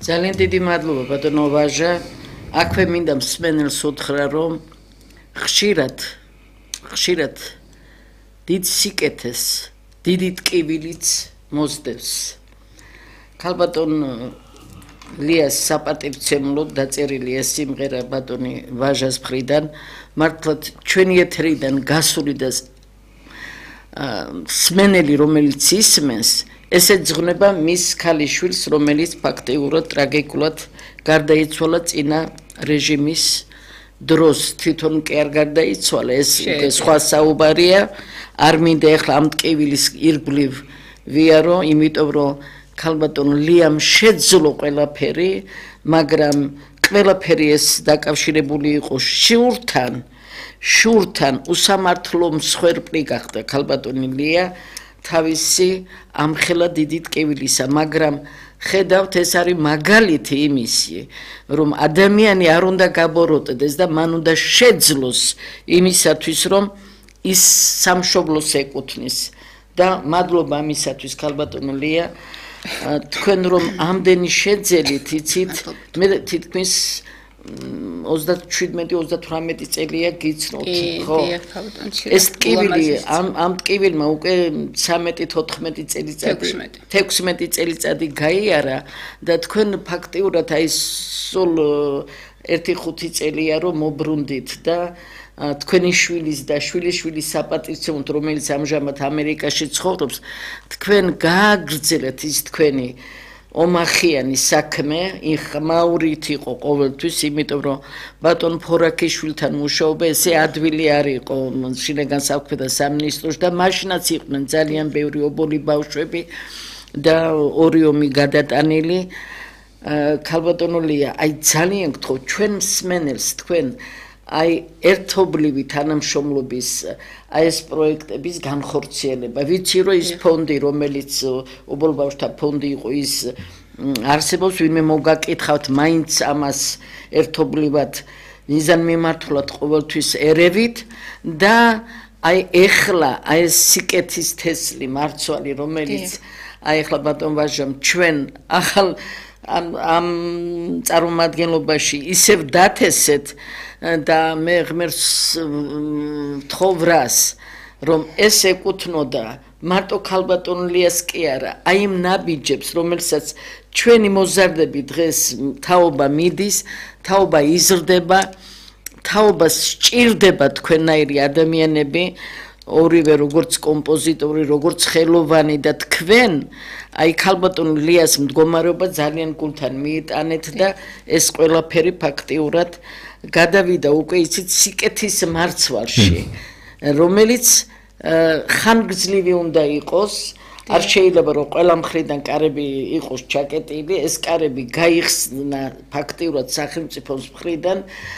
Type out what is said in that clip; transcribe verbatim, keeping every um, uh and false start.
ძალიან დიდი მადლობა ბატონო ვაჟა. აქვე მინდა მსმენელს უთხრა, რომ ხშირად ხშირად დიდ სიკეთეს, დიდი ტკივილიც მოსდევს. ქალბატონ ლიას საპატივცემლოდ დაწერილი ეს სიმღერა ბატონი ვაჟას მხრიდან მართლაც ჩვენი ეთერიდან გასული და მსმენელი რომელიც ისმენს ეს ეძღვნება მის ქალიშვილს რომელიც ფაქტიურად ტრაგიკულად გარდაიცვალა წინა რეჟიმის დროს თვითონ კი არ გარდაიცვალა ეს სხვა საუბარია არ მინდა ეხლა ამ ტკივილის ირგვლივ ვიარო იმიტომ რომ ქალბატონ ლიამ შეძლო ყველაფერი მაგრამ ყველაფერი ეს დაკავშირებული იყო შურთან შურთან უსამართლო მსხვერპლი გახდა ქალბატონი ლია თავისი ამხელა დიდი ტკივილისა მაგრამ ხედავთ ეს არის მაგალითი იმისი რომ ადამიანი არ უნდა გაბოროტდეს და მან უნდა შეძლოს იმისათვის რომ ის სამშობლოს ეკუთვნის და მადლობა ამისათვის ქალბატონო ლია თქვენ რომ ამდენი შეძელით იცით მე თითქმის ოცდაშვიდმეტი ოცდათვრამეტი წელია გიცნობთ ხო ეს ტკივილი ამ ამ ტკივილმა უკვე ცამეტი თოთხმეტი წელიწადი თექვსმეტი წელიწადი გაიარა და თქვენ ფაქტიურად აი სულ ერთი ხუთი წელია რომ მობრუნდით და თქვენი შვილის და შვილიშვილის საპატივცემლოდ რომელიც ამჟამად ამერიკაში ცხოვრობს თქვენ გააგრძელეთ ის თქვენი ომახიანი საქმე იხმაურით იყო ყოველთვის იმიტომ რომ ბატონ ფორაქიშვილთან მუშაობა ესე ადვილი არ იყო შინაგან საქმეთა სამინისტროში და მაშინაც იყვნენ ძალიან ბევრი ობოლი ბავშვები და ორი ომი გადატანილი ქალბატონო ლია აი ძალიან გთხოვ ჩვენ მსმენელს თქვენ აი ერთობლივი თანამშრომლობის აი ეს პროექტების განხორციელება ვიცი რომ ის ფონდი რომელიც ობოლბავშვთა ფონდი იყო ის არსებობს ვინმე მოგაკითხავთ მაინც ამას ერთობლივად მიზანმიმართულად ყოველთვის ერევით და აი ეხლა აი ეს სიკეთის თესლი მარცვალი რომელიც აი ეხლა ბატონ ვაჟამ ჩვენ ახალ ამ ამ წარმომადგენლობაში ისევ დათესეთ და მე ღმერთს თხოვრას რომ ეს ეკუთვნოდა მარტო ქალბატონ ლიას კი არა აი იმ ნაბიჯებს რომელსაც ჩვენი მოზარდები დღეს თაობა მიდის თაობა იზრდება თაობას სჭირდება თქვენნაირი ადამიანები ორივე როგორც კომპოზიტორი როგორც ხელოვანი და თქვენ აი ქალბატონ ლიას მდგომარეობა ძალიან გულთან მიიტანეთ და ეს ყველაფერი ფაქტიურად გადავიდა უკვე იცით სიკეთის მარცვალში რომელიც ხანგრძლივი უნდა იყოს არ შეიძლება რომ ყველა მხრიდან კარები იყოს ჩაკეტილი ეს კარები გაიხსნა ფაქტიურად სახელმწიფოს მხრიდან